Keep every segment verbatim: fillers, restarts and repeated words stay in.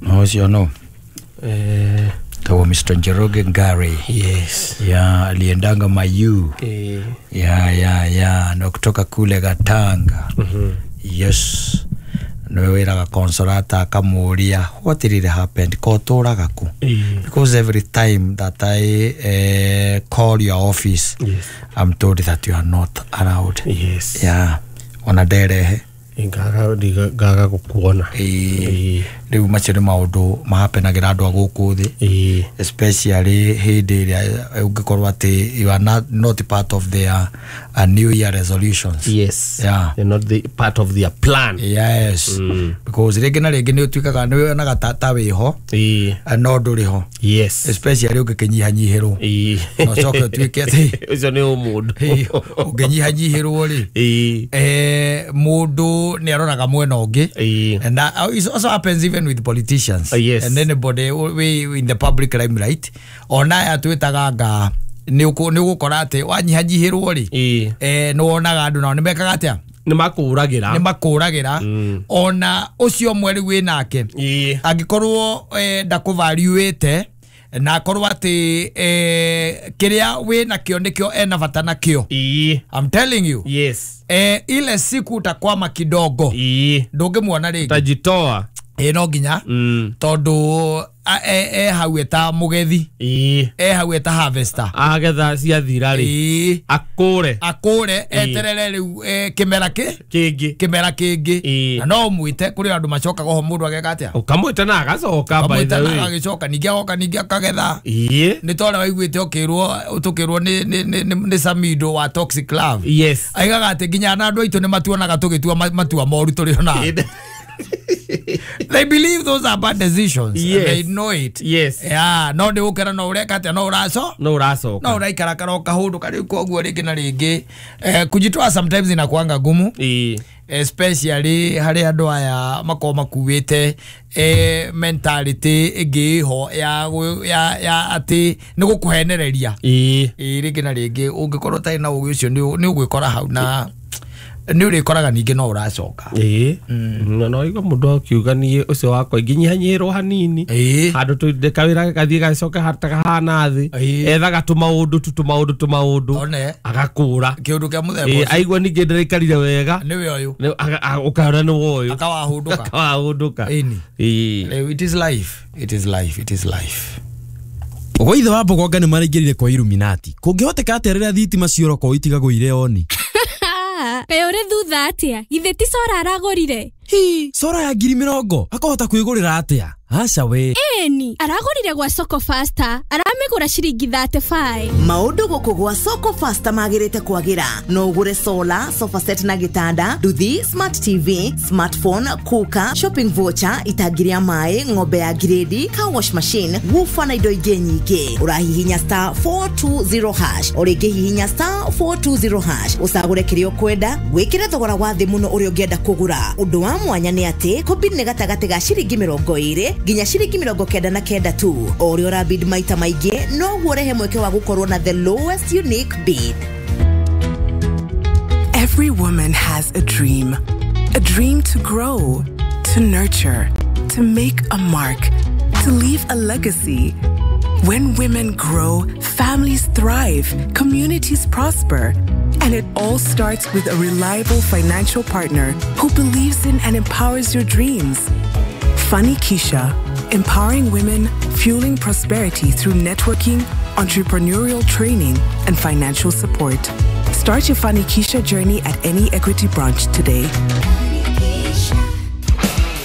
No ũcio no Eh, tawo Mister Njoroge Ngari. Yes. Ya aliendanga Mayu. Eh. Ya ya ya no kutoka kule Gatanga. Mhm. Yes. Niwe wĩraga Consolata akamuria what really happened ko tũraga ku Eh. because every time that I uh, call your office, Yes. I'm told that you are not allowed. Yes. Yeah, ona nderehe Ngaga ngaga gukuona. Ĩĩ. Rĩu macio nĩ maũndũ mahapenagira andũ a gũkũ thĩ, Ĩĩ. especially hĩndĩ ĩrĩa ũngĩkorwo atĩ you are not, not part of their uh, new year resolutions. Yes. Yeah. They're not the part of their plan. Yes. Mm. Because rĩngĩ na rĩngĩ nĩ ũtuĩkaga nĩ wonaga ta, ta wĩho Ĩĩ. eh, no ndũrĩ ho, Yes. especially ũngĩkĩnyihanyihĩrwo Ĩĩ. na ũcoke ũtuĩke atĩ Ũcio nĩ ũmũndũ. Ĩĩ, ũngĩnyihanyihĩrwo rĩ, Ĩĩ. eh, mũndũ nĩ aroraga mwena ũngĩ. Ĩĩ. And that uh, it also happens even with politicians Uh, yes. and anybody who- we in the public limelight. Ona aya twĩtaga nga nĩ ũgũkora atĩ wanyihanyihĩrwo rĩ, Ĩĩ. eh, nĩ wonaga andũ nao nĩ mekaga atĩa, Nĩ makũragĩra. nĩ makũragĩra. Mm. Ona ũcio ũmwe rĩu wĩ nake Ĩĩ. angĩkorwo eh, ndakũvariuĩte na akorwo atĩ eh, kĩrĩa wĩ nakĩo nĩkĩo ena bata nakĩo, Ĩĩ. I'm telling you, Yes. eh, ile siku utakwama kidogo, Ĩĩ. ndũngĩmuona rĩngĩ. Tajitoa. Ĩ no nginya, Mm. tondũ a- e e hau eta mũgethi, Ĩĩ. e hau eta harvester. Agetha ciathira rĩ, Ĩĩ. akũre. Akũre eterere rĩu eh, kĩmera kĩ Kĩngĩ. Kĩmera kĩngĩ. Ĩĩ. Na no ũmwĩte kũrĩ andũ macokaga oho mũndũ ageka atĩa, Ũkamwĩta na agacoka, by the kamwĩta na way. agagĩcoka ningĩ agoka ningĩ akagetha. Ĩĩ. Nĩ torĩa waiguĩte ũkĩrwo tũkĩrwo nĩ nĩ nĩ nĩ- nĩ Samido wa Toxic Love. Yes. Aigaga atĩ nginya na andũ aitũ nĩ matuonaga tũgĩtua ma- matua moru tũrĩ ona. They believe those are bad decisions. Yes. They know it. Yes. Yeah, no nĩ ũkĩra no ũreka atĩa, no ũraco No ũracoka. no ũraikara karo kahũndũ karĩu. Koguo rĩngĩ na rĩngĩ eh, kujitoa sometimes inakuanga gumu, Ĩĩ. especially harĩ andũ aya makorwo makuĩte eh, mentality ĩngĩ ĩho ya, gwĩ- ya, ya atĩ nĩ gũkũhenereria. Ĩĩ. Ĩ rĩngĩ na rĩngĩ ũngĩkorwo ũtarĩ na ũgĩ ũcio nĩ nĩ ũgwĩkora hau na nĩ ũrĩkoraga ningĩ no ũracoka. Ĩĩ. Na no igua mũndũ akiuga niĩ ũcio wakwa ingĩnyihanyihĩrwo hanini, Ĩĩ. handũ tũinde kawĩra gathiĩ gacoke kahana thĩ. Ĩĩ. Ethaga tũmaũndũ tu tũmaũndũ tũmaũndũ one agakũra. Kĩũndũ kĩa mũthemba Ĩĩ, ũcio. Aigua ningĩ ndĩraikarire wega. Nĩwe ũyũ. Nĩ- aga- a- ũkaona nĩ woyũ. Akawahũndũka. Akawahũndũka. Ĩni. Ĩĩ. Rĩu it is life, it is life, it is life. Ũgo ithe wa Mbogonga nĩ maraingĩrire kwa Illuminati. Kũngĩhoteka atĩa rĩrĩa thitima ciora itigagwo irĩ oni? Kaĩ ũrĩ thutha atĩa? Githĩ ti cora aragũrire? Hi, cora ya ngiri mĩrongo akahota kwĩgũrĩra atĩa? Aca we. Ĩni aragũrire gwa Soko Faster, aramĩgũra ciringi thirty-five. Maũndũ gũkũ gwa Soko Faster magĩrĩte kwagĩra. No ũgũre solar, sofa set na gĩtanda, nduthi, smart T V, smartphone, cooker, shopping voucher, itangi rĩa maĩ, ng'ombe ya grade, car wash machine, woofer na indo ingĩ nyingĩ. Ũrahihinya star four two zero hash, o rĩngĩ hihinya star four two zero hash, ũcagũre kĩrĩa ũkwenda, wĩkĩre thogora wa thĩ mũno ũrĩa ũngĩenda kũgũra. Ũndũ wa mwanya nĩ atĩ kũbid nĩ gatagatĩ ga ciringi mĩrongo ĩrĩ nginya ciringi mĩrongo kenda na kenda tu. O ũrĩa ũrabid maita maingĩ noguo ũrehe mweke wa gũkorwo na the lowest unique bid. Every woman has a dream. A dream to grow, to nurture, to make a mark, to leave a legacy. When women grow, families thrive, communities prosper. And it all starts with a reliable financial partner who believes in and empowers your dreams. Fanikisha, empowering women, fueling prosperity through networking, entrepreneurial training, and financial support. Start your Fanikisha journey at any Equity branch today.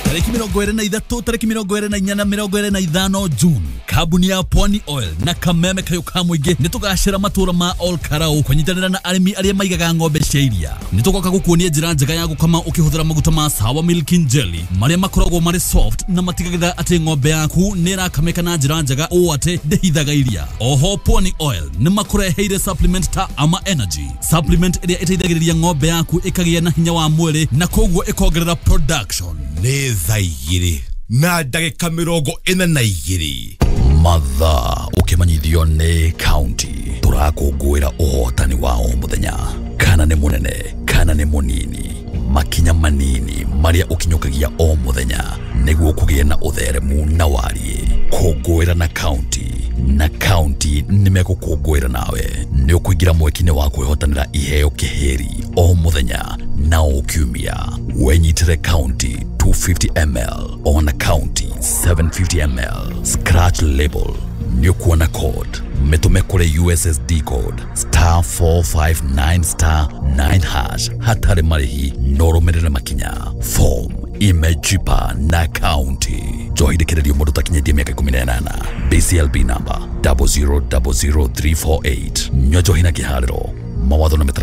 Tarĩki mĩrongo ĩrĩ na ithatũ, tarĩki mĩrongo ĩrĩ na inya na mĩrongo ĩrĩ na ithano June, kambuni ya Pwani Oil na Kameme Kayũ ka Mũingĩ nĩ tũgacĩra matũra ma Ol Karau kũnyitanĩra na arĩmi arĩa maigaga ng'ombe cia iria. Nĩ tũgoka gũkuonia njĩra njega ya gũkama ũkĩhũthĩra maguta ma Sawa Milking Jelly marĩa makoragwo marĩ soft na matigagĩrĩra atĩ ng'ombe yaku nĩ ĩrakamĩka na njĩra njega ũũ atĩ ndĩhithaga iria. Oho Pwani Oil nĩ makũreheire supplement ta Ama Energy supplement ĩrĩa ĩteithagĩrĩria ng'ombe yaku ĩkagĩa na hinya wa mwĩrĩ na koguo ĩkongerera production. Nĩ thaa igĩrĩ na ndagĩka mĩrongo ĩna na igĩrĩ. Mathaa ũkĩmenyithio nĩ county tũrakũngũĩra ũhotani wa o mũthenya, kana nĩ mũnene kana nĩ mũnini. Makinya manini marĩa ũkinyũkagia o mũthenya nĩguo kũgĩe na ũtheremu na wariĩ. Kũngũĩra na kaunti na kaunti nĩmegũkũngũĩra nawe. Nĩ ũkũingĩra mweki-inĩ wa kwĩhotanĩra iheo kĩhĩri o mũthenya na o kiumia. Wenyitĩre kaunti two fifty ml ona kaunti seven fifty ml. Scratch label nĩ ũkuona code. Mĩtũme kũrĩ U S S D code star four five nine star nine hash hatarĩ marĩhi no ũrũmĩrĩre makinya. Form imejipa na kaunti. Njohi ndĩkĩrĩrio mũndũ ũtakinyĩtie mĩaka ikũmi na ĩnana. B C L B number double zero double zero three four eight. Nyua njohi na kĩharĩro. Mawatho na mĩtaratara